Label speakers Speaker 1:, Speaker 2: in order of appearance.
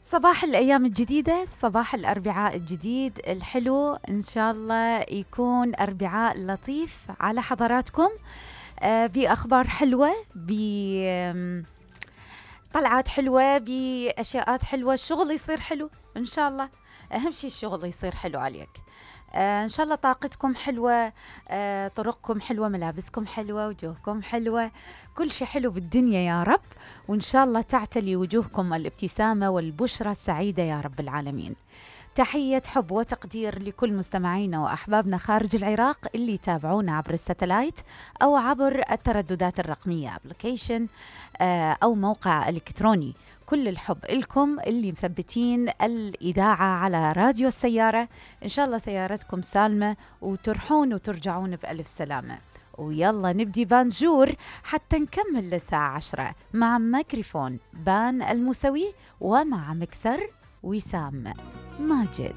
Speaker 1: صباح الأيام الجديدة، صباح الأربعاء الجديد الحلو، إن شاء الله يكون أربعاء لطيف على حضراتكم. بأخبار حلوة، بطلعات حلوة، بأشياءات حلوة، الشغل يصير حلو إن شاء الله. أهم شيء الشغل يصير حلو عليك. إن شاء الله طاقتكم حلوة، طرقكم حلوة، ملابسكم حلوة، وجوهكم حلوة، كل شيء حلو بالدنيا يا رب. وإن شاء الله تعتلي وجوهكم الابتسامة والبشرة السعيدة يا رب العالمين. تحية حب وتقدير لكل مستمعينا وأحبابنا خارج العراق اللي يتابعونا عبر الساتلايت أو عبر الترددات الرقمية أبليكيشن أو موقع إلكتروني. كل الحب لكم اللي مثبتين الإذاعة على راديو السيارة. إن شاء الله سيارتكم سالمة وترحون وترجعون بألف سلامة. ويلا نبدي بانجور حتى نكمل للساعة 10 مع ميكروفون بان الموسوي ومع مكسر وسام ماجد.